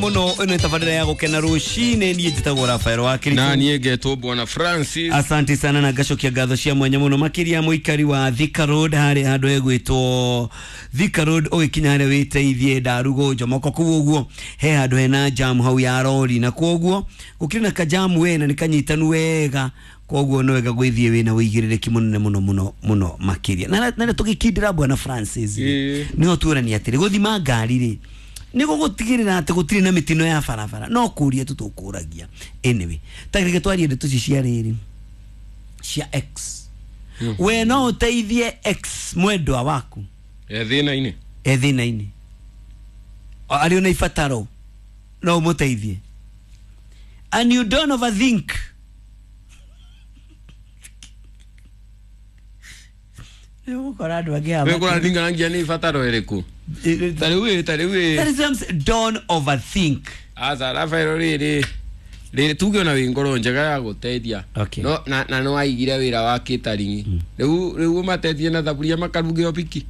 Muno ino tabarira ya gukena rucine nie njitagwo Rafael wa Kirito na nie ngetwo Bwana Francis. Asante sana na ngacokia ngatho cia mwanya muno makiria muikari wa Thika Road hari handu egwitwo Thika Road ugikinya haria witeithie ndarugo njomoko kuu uguo he handu hena jam hau ya rori na koguo gukiri na kajamu we na nikanyitanu wega koguo no wega gwithie wina uigirĩrĩki munene muno muno muno makiria na tugikindira Bwana Francis niho tuorania atiri guthima ngari ri niko gutigirira ati gutiri na mitino ya barabara no kuria tu tukuragia. Anyway, tagirike twarie ndeto ici cia riri cia ex. We no uteithie ex mwendwa waku e thina-ini, e thina-ini ari ona ibataro no umuteithie, and you don't overthink. Nĩũgũkora andũ angĩ haha wĩkũraringarangia nĩ ibataro ĩrĩkũ. Tarĩu That is what I'm saying. Don't overthink. Aca Rafael rĩrĩ rĩrĩ tuge ona wĩ ngoro njega ya gũteithia. Okay. No na no aigire wĩra wa catering. Rĩu rĩu ũmateithie na thaburia makaruge o piki.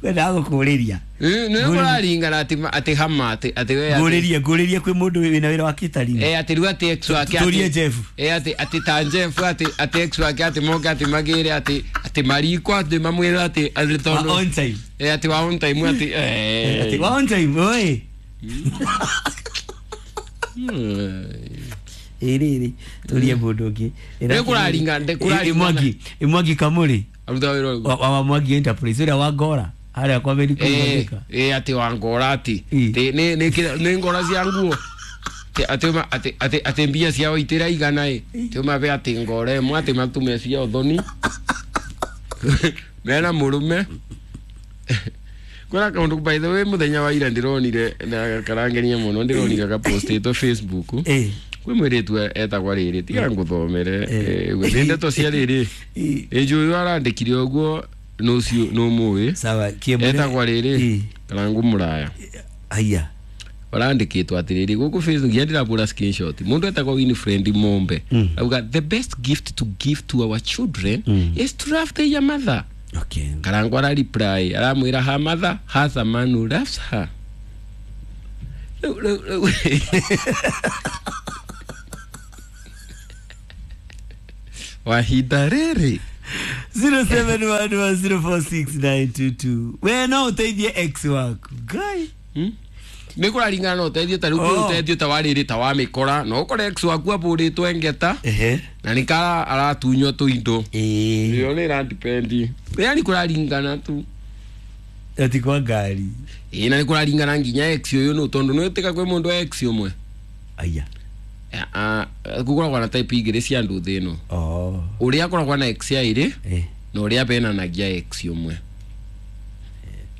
Kwenda gũkũrĩria. Nĩ ũraringana atĩ atĩ hama atĩ atĩ we ngũrĩrie ngũrĩrie kwĩ mũndũ wĩna wĩra wa catering. Eh atĩ rĩu atĩ ex wake atĩ Jeff. Eh atĩ atĩ ta Jeff atĩ atĩ ex wake atĩ moke atĩ magĩre atĩ atĩ mariko atĩ mamwĩre atĩ atĩ tondũ on time. Eh atĩ wa on time atĩ eh atĩ wa on time oi. Ĩrĩ tũrie mũndũ ũngĩ. Nĩ kũraringana ndĩ kũraringana. Mwangi Mwangi Kamuri. Aruta wĩra ũrĩkũ? Wa Mwangi Enterprise ũrĩa wa Ngora. Haria kwa Amerika eh ati wa Ngora ati ni ni ni ngora cia nguo ati ati ati ati mbia ciao itiraigana ĩ ti mabe ati ngora ĩmwe ati matume cia ũthoni mena mũrũme kwĩna kaũndũ by the way mũthenya wa ira ndĩronire na karangenia mũno ndĩronire gapostĩtwo Facebook kwĩ mwĩrĩtu etagwa rĩrĩ tiga ngũthomere nĩ ndeto cia rĩrĩ ĩnjũĩ arandĩkire ũguo nucio no muwi sawa kiemune etagwa riri karangu muraya aya barandikitwo atiriri guku Facebook yandira screenshot mundu etagwa Winfred Mombe auga the best gift to give to our children is to love their mother. Okay. Karangu ara reply aramwira her mother has a man who loves her. Wahinda riri 0711046922 we no uteithie ex waku guy. Nĩ kũraringana no ũteithie ta rĩu kwĩ ũteithio ta wa rĩrĩ ta wa mĩkora no ũkore ex waku abũrĩtwo engeta na nĩ kara aratunywo tũindo ĩyo nĩ ĩra depend yani kũraringana tu ati kwa ngari ĩ na nĩ kũraringana nginya ex ũyũ nũ tondũ nĩ wĩtĩka kwĩ mũndũ wa ex ũmwe aya gũkoragwo na type igĩrĩ cia andũ thĩ ĩno ũrĩa akoragwo na ex aĩrĩ na ũrĩa benanagia ex ũmwe.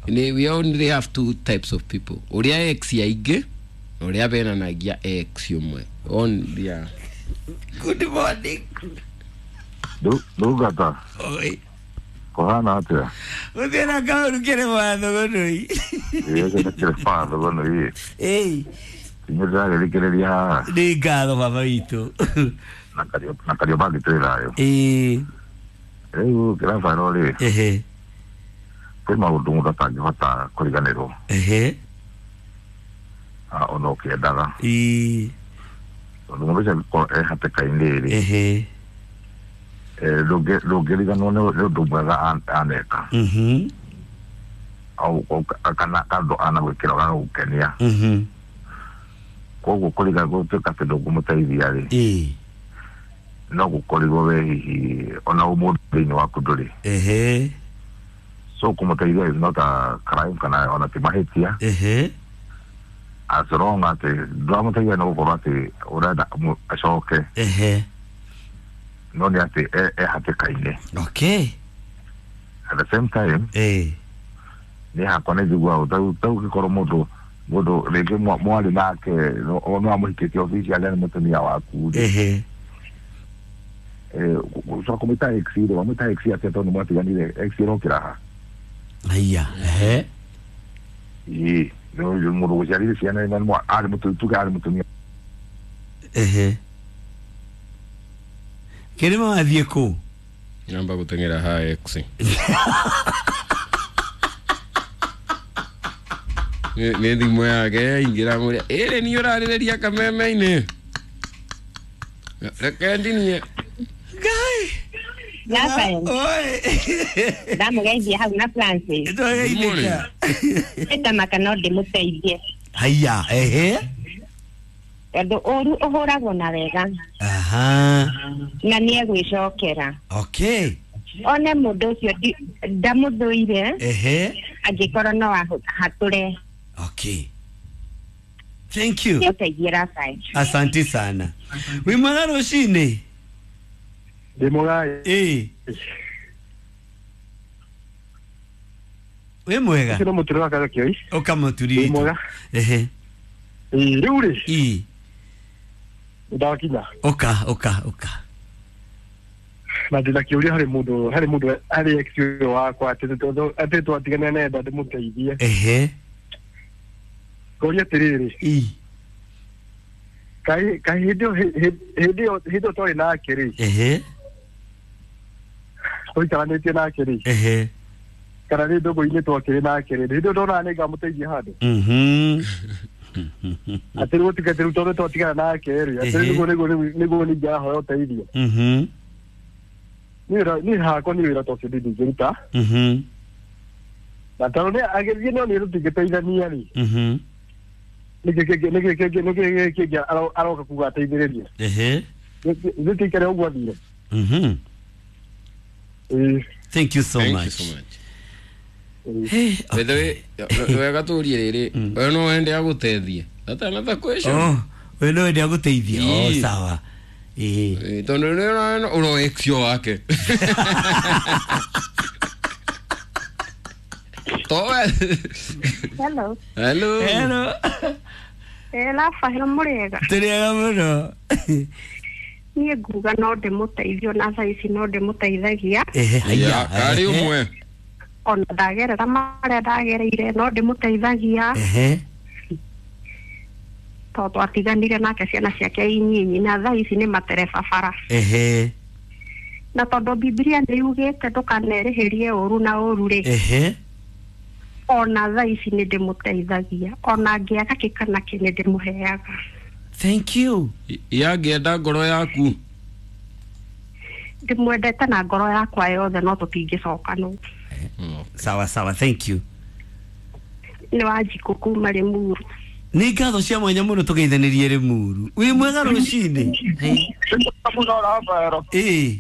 We only have two types of people, ũrĩa ex aingĩ na ũrĩa benanagia ex ũmwe. On yeah. Good morning. Ndungata. Oi. Kũhana atĩa? Gũthiĩ na kaũndũ kĩrĩ watho gũnũi. Ĩĩ kĩrĩ watho gũnũi. Ĩĩ. Inyuĩ ndĩragĩthikĩrĩria haha. Nĩ ngatho baba witũ. Na Kariobangi twĩ thayũ. Ĩĩ. Rĩu Kĩrabaero rĩ. Ehe. Kwĩ maũndũ mũndũ atangĩhota kũriganĩrwo. Ehe. Ona ũkĩendaga. Ĩĩ. Tondũ mũndũ ũcio angĩkorwo e hatĩka-inĩ rĩ. Ehe. Ndũngĩriganĩrwo nĩ ũndũ mwega aneka. Au kana kandũ anagwĩkĩra gagagũkenia. Koguo kũriganĩrwo gũtuĩka atĩ ndũngĩmũteithia rĩ. Ĩĩ. No gũkorirwo we hihi ona ũmũndũ thĩinĩ waku ndũrĩ. Ehe. So kũmũteithia is not a crime kana ona ti mahĩtia. Ehe. As long atĩ ndũramũteithia nĩ gũkorwo atĩ ũrenda acoke. Ehe. No nĩ atĩ e hatĩka-inĩ. Okay. At the same time. Ĩĩ. Nĩ hakwa nĩ njiguaga ta ũngĩkorwo mũndũ mũndũ rĩngĩ mwarĩ nake no amũhikĩtie officially nĩ mũtumia waku. Ehe. Gũcoka kũmwĩta ex rĩ wamwĩta ex atĩa tondũ mwatiganire ex ĩrokĩra ha? Aya. Ehe. Ĩĩ mũndũ gũciarire ciana na arĩ tuge arĩ mũtumia. Ehe. Kĩrĩma wathiĩ kũ? Namba gũteng'era ha ex. Nĩ thimũ yake yaingĩra mũrĩa ĩrĩ niĩ ũrarĩrĩria kameme-inĩ reke ndinie Ngai. Rafael. Oi. Ndamũgeithia hau na Francis. Twageithĩka. Ĩtamaka no ndĩmũteithie. Haya, ehe. Tondũ ũru ũhũragwo na wega Aha. na nĩ egwĩcokera. Okay. One mũndũ ũcio ndamũthũire Ehe. angĩkorwo no ahatũre. Okay. Thank you. Ũteithie Rafael. Asante sana. Wĩ mwega rũcinĩ? Ndĩ mwega. Ĩĩ. Wĩ mwega? Ũcio nĩ mũtũrĩ wa Karakĩoi. Ũka mũturi Wĩ witũ. mwega. Ehe. Ĩĩ, rĩu rĩ Ĩĩ. ndakinya Ũka, ũka, ũka. na ndĩna kĩũria harĩ mũndũ harĩ mũndũ harĩ ex ũyũ wakwa atĩ atĩ twatigana nenda ndĩmũteithie. Ehe. Ngoria atĩrĩrĩ, Ĩĩ. kaĩ kaĩ hĩndĩ ĩyo hĩndĩ ĩyo hĩndĩ ĩyo twarĩ nake rĩ, Ehe. tũikaranĩtie nake rĩ, Ehe. kana nĩ ndũgũ-inĩ twakĩrĩ nake rĩ, hĩndĩ ĩyo ndonaga nĩ ngamũteithia handũ. Mhm. Atĩ rĩu gũtuĩke atĩ rĩu tondũ twatigana nake rĩ, atĩ Ehe. rĩu nĩguo nĩguo nĩguo ningĩahoya ũteithio. Mhm. Niĩ hakwa nĩ wĩra ta ũcio ndingĩruta. Mhm. Na tondũ nĩ agĩthiĩ no nĩ tũtingĩteithania rĩ, Mhm. nĩkĩ kĩngĩ nĩkĩ kĩngĩ nĩkĩ kĩngĩ aroka kuga ateithĩrĩrie. Ehe. Gĩtikare ũguo athire. Mhm. Ĩĩ. Thank you so Thank much. you so much. Hey, By the way, wega tũrie rĩrĩ we no wende agũteithie atanatha question. Oh, we no wende agũteithie. Oh, Ĩĩ. sawa. Ĩĩ. Ĩĩ, tondũ nĩ ũrona ũro ex ũyũ wake towe. Hello. Hello. Hello. Rafael mũrĩega. Tũrĩega mũno. Niĩ nguga no ndĩmũteithie ona thaa ici no ndĩmũteithagia. Ehe, haya. Ya, karĩ ũmwe. Ona ndagerera marĩa ndagereire no ndĩmũteithagia. Ehe. Tondũ twatiganire nake ciana ciake inyinyi na thaa ici nĩ matereba bara. Ehe. Na tondũ Bibilia nĩ yugĩte ndũkanerĩhĩrie ũru na ũru rĩ. Ehe. Ona thaa ici nĩ ndĩmũteithagia. Ona angĩaga kĩ kana kĩ nĩ ndĩmũheaga. Thank you. Yangĩenda ngoro yaku. Ndĩmwendete na ngoro yakwa yothe no tũtingĩcokanwo. Sawa sawa, thank you. Nĩ Wanjikũ kuma Rĩmuru. Nĩ ngatho cia mwanya mũno tũgeithanĩrie Rĩmuru. Wĩ mwega rũcinĩ? Mũno Rafael. Ĩĩ.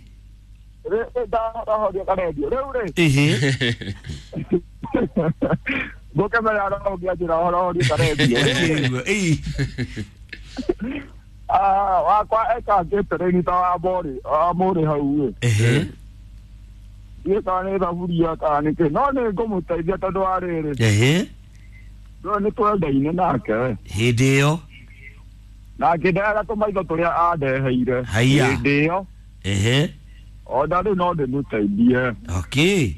Ndahoria karendio rĩu rĩ. Ehe. Ngũkĩmenya ũngĩanjĩra ũhoro karendio. Ĩĩ. Wakwa ekangĩte rĩni ta wa mũrĩ wa mũrĩ hau ĩ. Ehe. Ndiũĩ kana nĩ thaburia kana nĩkĩ no nĩ ngũmũteithia tondũ wa rĩrĩ. Ehe. No nĩ twendaine nake. Hĩndĩ ĩyo. Na ngĩndehera tũmaitho tũrĩa andeheire. Haiya. Hĩndĩ ĩyo. Ehe. Ona rĩu no ndĩmũteithie. Okay.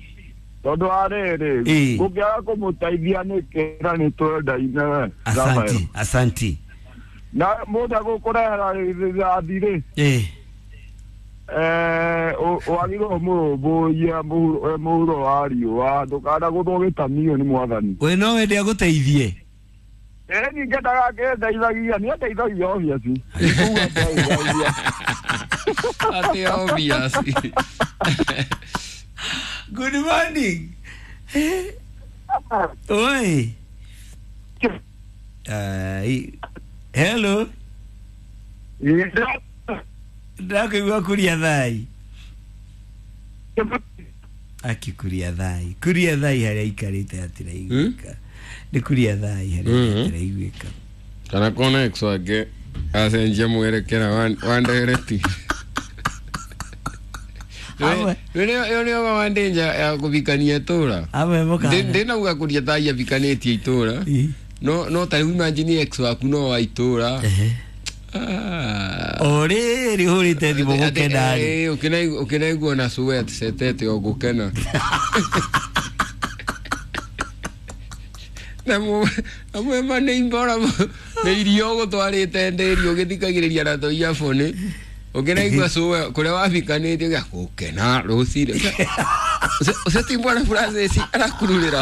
Tondũ wa rĩrĩ Ĩĩ. ngũkĩaga kũmũteithia nĩkĩ na nĩ twendaine we. Asanti, asanti. Na mũndũ agũkũrehera rithathi rĩ, Ĩĩ. wagĩrĩirwo mũrũmbũiye mũhuro wa riũa ndũkanagũthwo gĩtamio nĩ mwathani. We no wende agũteithie. Ĩĩ niĩ ngendaga ngĩndeithagia nĩ andeithagia obviously. Kuga andeithagia. Atĩ obvious. Good morning. Oi. Ai. Hello. Ndakũigua kuria thai. Akikuria thai. Kuria thai harĩa aikarĩte hatiraiguĩka. Nĩ kuria thai harĩa hatiraiguĩka. Kana kona ex wake acenjia mwerekera wa ndereti. Amwe. Ĩyo nĩyo wandĩnja ya kũbikania itũra. Amwe mũkana. Ndĩnauga kũria thai abikanĩtie itũra. Ĩ. No ta rĩu imagine ex waku no wa itũra. Ehe. Ah. O rĩrĩ ũhũrĩte thimũ gũkena rĩ. Ĩ, ũkĩnaigua na sweat setete o gũkena. Na mwema nĩ imbora nĩ irio ũgũtwarĩte ndĩri ũgĩthikagĩrĩria na tũ earphone ũkĩnaigua sweat kũrĩa wabikanĩtie ũgĩa gũkena rũcinĩ. Ũcio ti Bwana Francis arakururĩra.